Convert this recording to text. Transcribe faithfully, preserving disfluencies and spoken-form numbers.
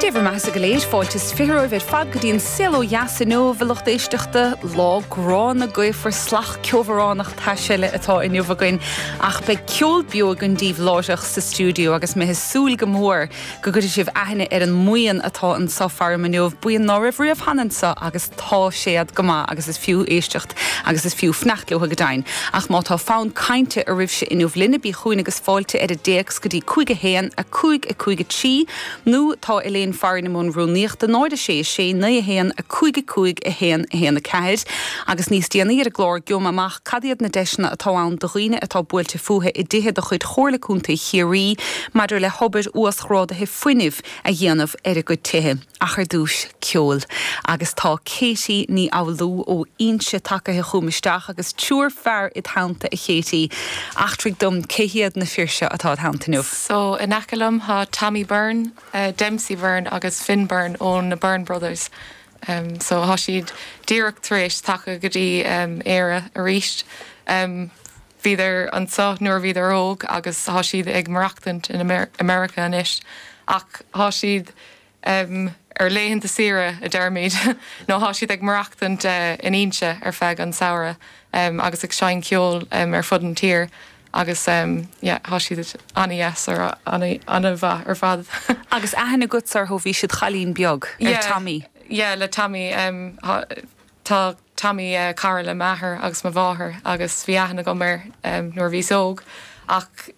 Sé bhur mbeatha go léir fáilte is fiche romhaibh ar fad go dtí an Saol Ó Dheas inniu a lucht éisteachta lá gránna gaofar salach ceobhránach tais eile atá inniu againn ach beidh ceol beo againn daoibh láithreach sa stiúideo agus mé ag súil go mór go gcuirfidh sibh aithne ar an mbuíon atá anseo faram inniu buíon ná raibh riamh cheana anseo agus tá siad go maith agus is fiú éisteacht agus is fiú fanacht leo go deimhin. Ach má tá fonn cainte oraibhse inniu linne bí chugainn agus fáilte ar an dtéacs go dtí cúig a haon a cúig a cúig a trí nó tá Elaine Farrin i mbun rúnaíochta náid a sé sé naoi a haon a cúig a cúig a haon a haon a ceathair, agus níos déanaí ar an gclár gheobhaidh amach cad iad na deiseanna atá ann do dhaoine atá buailte fúthu i dtithe de chuid Chomhairle Contae Chiarraí maidir le hobair uasghrádaithe fuinnimh a dhéanamh ar a gcuid tithe. Ach ar dtús ceol. Agus tá Katie Ní Fhoghlú ó Inse tagtha chugam isteach agus triúr fear id theannta a Katie. Eachtraigh dom cé hiad na fir seo atá id theannta inniu. So in aice liom tá Tommy Byrne, uh, Dempsey Byrne agus Finn Byrne ó na Byrne Brothers. Um, so tá siad díreach tar éis teacht go dtí um, Éire arís. Um, Bhíodar anseo nuair bhíodar óg agus tá siad ag maireachtaint in Amer America anois ach tá siad um, ar laethanta saoire a deirimid nó tá siad ag maireachtaint uh, in Inse ar feadh an samhradh um, agus ag seinm ceol um, ar fud an tír. agus um, yeah, tá siad an-deas ar an-mhaith ar fad. Agus aithne agat orthu bhí siad cailín beag ar Yeah. Tommy. Yeah, le Tommy um, tá Tommy uh, cara le m'athair agus mo mháthair agus bhí aithne agam air um, nuair bhí óg ach